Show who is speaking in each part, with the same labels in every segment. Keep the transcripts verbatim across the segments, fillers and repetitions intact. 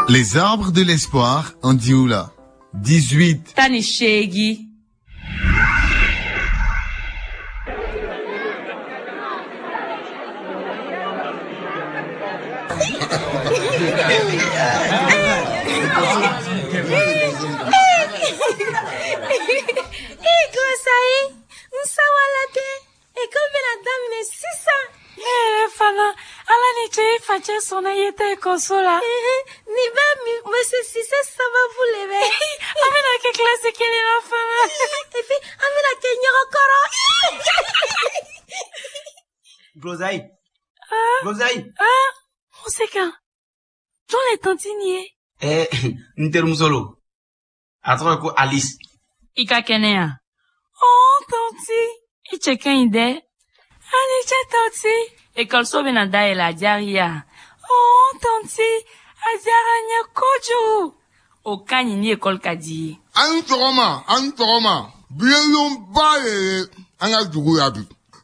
Speaker 1: Les arbres de l'espoir en Dioula. dix-huit.
Speaker 2: Tan ni seegin.
Speaker 3: Eh, Gosayi, n sawala dɛ. Ekɔli bɛna daminɛ sisan.
Speaker 4: Ne yɛrɛ fana, ala ni ce i facɛ sɔnna i ye taa ekɔliso la.
Speaker 3: Nin bɛɛ monsieur Cissé sababu le bɛ.
Speaker 4: An bɛna kɛ kilasi kelen na fana.
Speaker 3: Et puis an bɛna kɛ ɲɔgɔn kɔrɔ.
Speaker 5: Gosayi.
Speaker 4: Ah.
Speaker 5: Gosayi.
Speaker 4: Ah, o se kan. Jɔn le tantine ye?
Speaker 5: Eh, n terimuso lo. A tɔgɔ ye ko Alice.
Speaker 2: I ka kɛnɛya.
Speaker 4: Oh, tanti, i cɛ ka ɲi dɛ. A ni ce tanti.
Speaker 2: Ekɔliso bɛna dayɛlɛ a diyara i ye.
Speaker 4: Oh, tanti, a diyara n ye kojugu.
Speaker 2: O ka ɲi ni ekɔli ka di i ye.
Speaker 6: An sɔgɔma, an sɔgɔma. Bi ye lonba de ye an ka dugu la bi.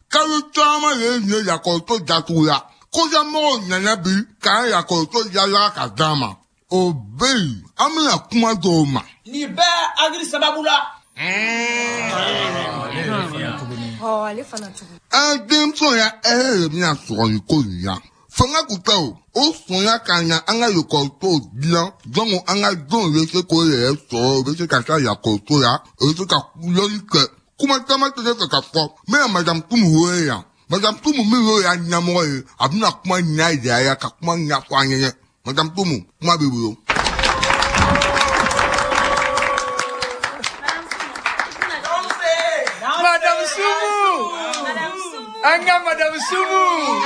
Speaker 6: Kalo caman de ye nin ye lakɔliso datugu la. Kɔfɛmɔgɔw nana bi k'an lakɔliso yala ka d'an ma. O bɛ yen, an bɛna kuma dɔw ma.
Speaker 5: Nin bɛɛ Agri sababu la.
Speaker 3: Ale fana tugun.
Speaker 6: An denmisɛnw ya hɛrɛ de bɛna sɔrɔ nin ko nin na. Fanga kun tɛ o, o sɔnna ka na an ka lakɔlisow dilan donc an ka denw bɛ se k'o yɛrɛ sɔrɔ, u bɛ se ka taa lakɔliso la, u bɛ se ka lɔnni kɛ. Kuma caman tɛ ne fɛ ka fɔ, n bɛna madame Tumu wele yan. Madame Tumu min y'o ya ɲɛmɔgɔ ye, a bɛna kuma ɲɛ yira ya ka kuma ɲɛfɔ an ɲɛnɛ. Madame Tumu, kuma b'i bolo.
Speaker 7: Madame Soumou. An ka Madame Soumou.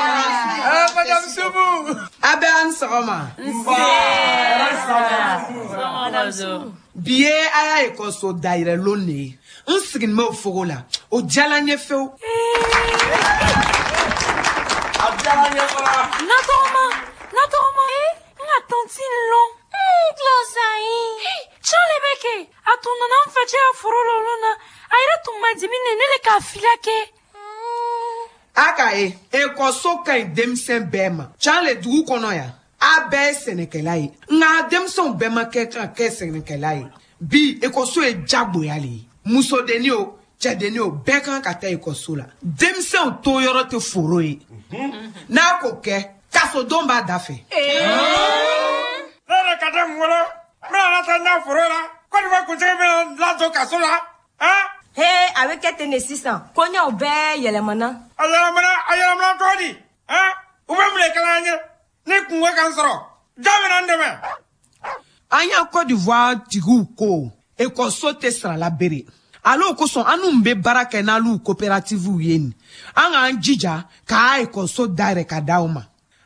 Speaker 7: Ah, Madame Soumou.
Speaker 8: A bɛ an sɔgɔma. Bi ye a y'a ekɔliso dayɛlɛ lon de ye. N sigilen bɛ o fogo la. O diyara n ye fewu.
Speaker 7: A diyara n ye fana.
Speaker 4: Natɔgɔma, natɔgɔma. N ka tantine lɔn.
Speaker 3: Gosayi.
Speaker 4: Can le bɛ kɛ. A tun nana n facɛ ya foro la olu na. A yɛrɛ tun ma dimi ne ne le k'a fila kɛ.
Speaker 8: A k'a ye, ekɔliso ka ɲi denmisɛn bɛɛ ma. Can le dugu kɔnɔ yan, a bɛɛ ye sɛnɛkɛla ye. Nka denmisɛnw bɛɛ ma kɛ kan kɛ sɛnɛkɛla ye. Bi ekɔliso ye jagoya le ye. Musodenni o, cɛdenni o, bɛɛ kan ka taa ekɔliso la. Denmisɛnw to yɔrɔ tɛ foro ye. N'a k'o kɛ, kasodon b'a da fɛ.
Speaker 7: Ne yɛrɛ ka den wolo, n bɛna na taa n ka foro la, ko nin bɛ kuntigi bɛna ladon kaso la, han?
Speaker 3: He, a bɛ kɛ ten de sisan. Koɲɛw bɛɛ yɛlɛmana.
Speaker 7: A yɛlɛmana, a yɛlɛmana cogo di? Han? U bɛ mun de kɛla an ye? Ni kungo ka n sɔrɔ, jɔn bɛna n dɛmɛ?
Speaker 8: An y'a Côte d'Ivoire tigiw ko ekɔliso tɛ sarala bere. Ale o kosɔn an n'u bɛ baara kɛ n'alu coopérativew ye nin. An k'an jija k'a ekɔliso dayɛlɛ ka d'aw ma.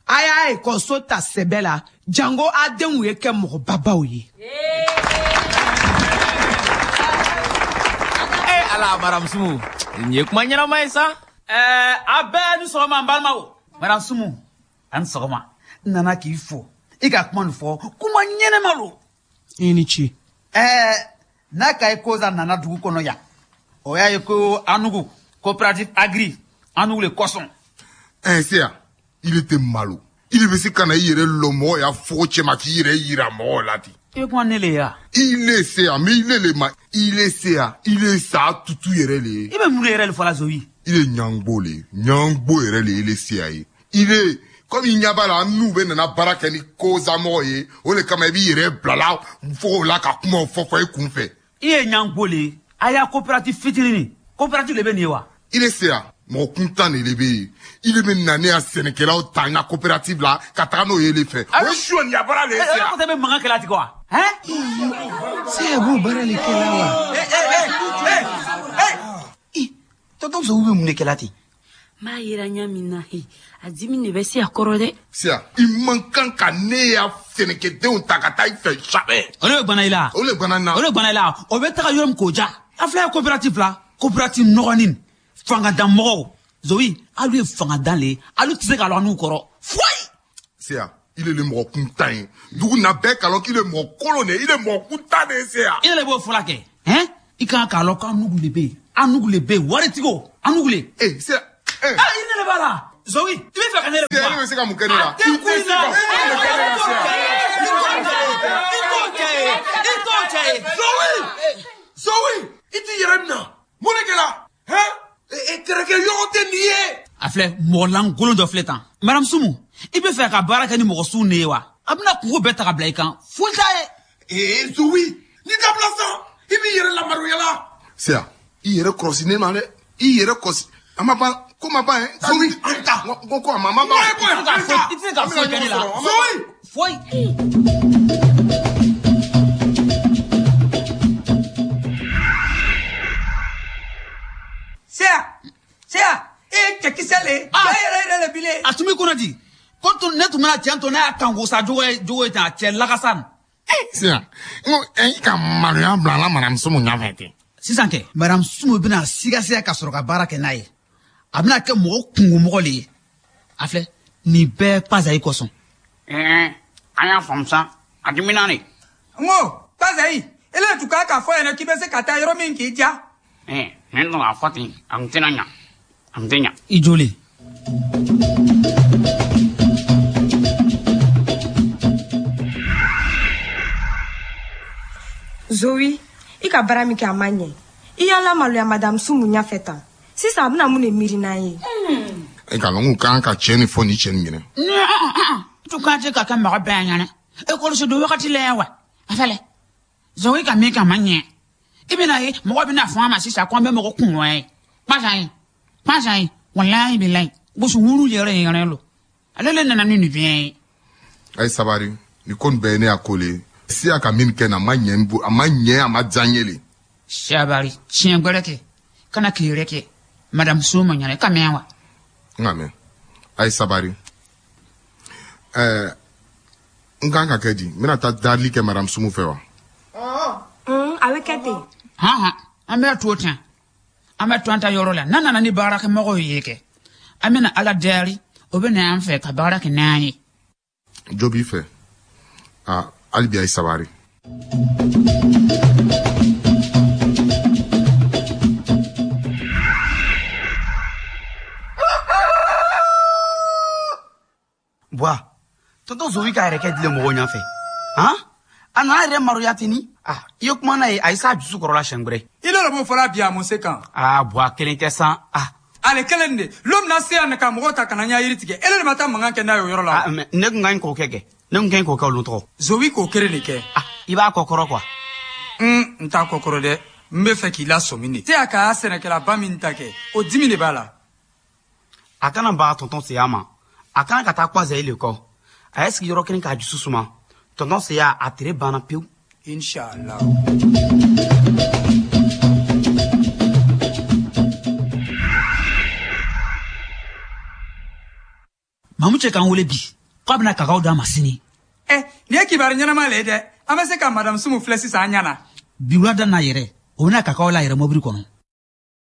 Speaker 8: A y'a ekɔliso ta sɛbɛ la jango a denw ye kɛ mɔgɔbabaw ye.
Speaker 9: Ala Madame Soumou, nin ye kuma ɲɛnama ye sa.
Speaker 5: Ɛɛ, a bɛɛ ni sɔgɔma n balimaw. Madame Soumou, a ni sɔgɔma. N nana k'i fo. I ka kuma nin fɔ, kuma ɲɛnama lo.
Speaker 8: I ni ce.
Speaker 5: Ɛɛ, n'a ka ye koza nana dugu kɔnɔ yan, o y'a ye ko Anugu, coopérative Agri, Anugu le kosɔn.
Speaker 6: Eh, Seya, il était malo. Il bɛ se ka na i yɛrɛ lɔ mɔgɔ ya fogo cɛma k'i yɛrɛ yira mɔgɔw la ten.
Speaker 5: I bɛ kuma ne le ye wa?
Speaker 6: Il est Seya, mais il est le ma. Il est Seya, il est sa tutu yɛrɛ le ye.
Speaker 5: I bɛ mun de yɛrɛ le fɔ la Zoyi?
Speaker 6: Il est ɲangbo le ye. Ɲangbo yɛrɛ le ye il est Seya ye. Il est comme i ɲɛ b'a la an n'u bɛ nana baara kɛ ni kozamɔgɔ ye, o de kama i b'i yɛrɛ bila la fogo la ka kumaw fɔ fɔ i kun fɛ.
Speaker 5: I ye ɲangbo le ye. A y'a coopérative fitinin nin. Coopérative le bɛ nin ye wa?
Speaker 6: Il est Seya. Mɔgɔ kuntan de bɛ yen. Il bɛ na ne ya sɛnɛkɛlaw ta n ka coopérative la ka taga n'o ye le fɛ. O ye sonyɛ baara de ye Seya.
Speaker 5: E ko tɛ bɛ mankan kɛla ten wa? Hein?
Speaker 8: Seya b'o baara le kɛla wa?
Speaker 5: Eh eh eh eh eh. Tonton Zowu bɛ mun de kɛla ten?
Speaker 2: N b'a yira ɲɛ min na, a dimi de bɛ se a kɔrɔ dɛ.
Speaker 6: Seya, i man kan ka ne ya sɛnɛkɛdenw ta ka taa i fɛ jamais.
Speaker 5: O de bɛ bana i la.
Speaker 6: O de bana n na.
Speaker 5: O de bana i la. O bɛ taga yɔrɔ min k'o ja. A filɛ ye coopérative la, coopérative nɔgɔnin. Fangadan mɔgɔw Zoyi, alu ye fangadan le ye, alu tɛ se ka lɔ n'u kɔrɔ foyi.
Speaker 6: Seya, il est le mɔgɔ kuntan ye. Dugu na bɛɛ kalon qu'il est mɔgɔ kolon de ye, il est mɔgɔ kuntan de ye Seya.
Speaker 5: I yɛrɛ b'o fɔla kɛ, hɛn? I kan k'a lɔn k'an nugu le bɛ yen, an nugu le bɛ yen, waritigiw, an nugu le.
Speaker 6: Eh, Seya, eh.
Speaker 5: Ah, i ne le b'a la. Zoyi, i bɛ fɛ ka ne yɛrɛ
Speaker 6: Seya, ne bɛ se ka mun kɛ ne la?
Speaker 5: A tɛ kun in na.
Speaker 6: I tɛ se ka foyi de kɛ ne la, Seya.
Speaker 7: Zowi i t'i yɛrɛ minɛ mun de kɛra hɛn e terikɛ yɔrɔ tɛ nin ye.
Speaker 5: A filɛ mɔgɔ lankolon dɔ filɛ tan madame Sumu i bɛ fɛ ka baara kɛ ni mɔgɔ suw de ye wa a bɛna kungo bɛɛ ta ka bila i kan foyi t'a ye.
Speaker 7: Ee Zowi n'i dabila sa i b'i yɛrɛ lamaloya la.
Speaker 6: Siya i yɛrɛ kɔlɔsi ne ma dɛ i yɛrɛ kɔlɔsi a ma ban ko ma ban yɛ.
Speaker 7: Zowi an ta.
Speaker 6: Ko ko a ma ma ban.
Speaker 5: I tɛ se ka foyi kɛ ne la.
Speaker 7: Zowi.
Speaker 5: Foyi.
Speaker 10: Siya siya e ye cɛkisɛ le ye. Cɛ yɛrɛ yɛrɛ le bi le.
Speaker 5: A tun b'i kɔnɔ di ko tun ne tun bɛna cɛ to ne y'a kan ko sa jogo ye jogo ye tan a cɛ lakasa nin.
Speaker 6: Siya n ko e ka maloya bila la madame Sumu ɲɛfɛ ten.
Speaker 5: Sisan kɛ madame Sumu bɛna sigasiga ka sɔrɔ ka baara kɛ n'a ye a bɛna kɛ mɔgɔ kungomɔgɔ le ye a filɛ nin bɛɛ Pazayi kosɔn.
Speaker 11: Ɛɛ an y'a faamu sa a dimina de.
Speaker 10: N ko Pazayi ele tun kan k'a fɔ ɲɛna k'i bɛ se ka taa yɔrɔ min k'i diya.
Speaker 11: Ɛɛ ne nana fɔ ten a tun tɛna ɲa a tun tɛ ɲa.
Speaker 5: I joli.
Speaker 3: Zowi i ka baara min kɛ a ma ɲɛ i y'a lamaloya madame Sumu ɲɛfɛ tan sisan a bɛna mun de miiri n'an ye.
Speaker 6: E ka lɔn k'u kan ka cɛ nin fɔ ni cɛ nin ɲɛna.
Speaker 11: Tu kan tɛ ka kɛ mɔgɔ bɛɛ ɲɛna ekɔliso don wagati la yan wa a filɛ Zowi ka min kɛ a ma ɲɛ i bɛna ye mɔgɔ bɛna fɔ an ma sisan ko an bɛ mɔgɔ kungo ye Pazayi Pazayi walayi bilayi gosi wuru yɛrɛ yɛrɛ lo ale le nana ni nin bɛɛ ye.
Speaker 6: A ye sabari nin ko nin bɛɛ ye ne y'a ko le ye. Siya ka min kɛ na a ma ɲɛ n bo a ma ɲɛ a ma diya n ye le.
Speaker 11: Sabari tiɲɛ gbɛrɛ kɛ kana k'i yɛrɛ kɛ madame Sumu ɲɛna i ka mɛn wa.
Speaker 6: N ka mɛn a ye sabari ɛɛ n kan ka kɛ di n bɛna taa darili kɛ madame Sumu fɛ wa.
Speaker 3: A bɛ kɛ ten.
Speaker 11: Han han an bɛ to ten an bɛ to an ta yɔrɔ la n'an nana ni baarakɛmɔgɔw ye kɛ an bɛna ala deli o bɛ na an fɛ ka baara kɛ n'an ye.
Speaker 6: Jo b'i fɛ aa hali bi a ye sabari.
Speaker 12: Buwa tonton Zowi ka yɛrɛ kɛ dilen mɔgɔw ɲɛfɛ han a nana yɛrɛ maloya ten ni ah i ye kuma n'a ye a ye s'a dusu kɔrɔ la siɲɛ wɛrɛ.
Speaker 10: I n'o de b'o fɔla bi a mun se kan.
Speaker 12: Aa Buwa kelen tɛ san ah.
Speaker 10: Ale kelen de lon min na se yan ka mɔgɔw ta ka na n ya yiri tigɛ ele de ma taa mankan kɛ n'a ye o yɔrɔ la.
Speaker 12: Ah mais ne kun ka ɲi k'o kɛ kɛ ne kun ka ɲi k'o kɛ olu tɔgɔ.
Speaker 10: Zowi k'o kelen de kɛ.
Speaker 12: Ah i b'a kɔ kɔrɔ quoi.
Speaker 10: Un n t'a kɔ kɔrɔ dɛ n bɛ fɛ k'i lasɔmi de. Te a ka sɛnɛkɛlaba min ta kɛ o dimi de b'a la.
Speaker 12: A kana baga tonton Seya ma a kana ka taa Pazayi le kɔ a ye sigi yɔrɔ kelen k'a dusu suma tonton Seya a tere banna pewu.
Speaker 10: Inshallah.
Speaker 5: Mamu cɛ k'an wele bi k'a bɛna kakaw d'a ma sini.
Speaker 10: Ɛ nin ye kibaru ɲɛnama le ye dɛ an bɛ se ka madame Sumu filɛ sisan an ɲɛ na.
Speaker 5: Bi wulada n'a yɛrɛ o bɛna kakaw la yɛrɛ mobili kɔnɔ.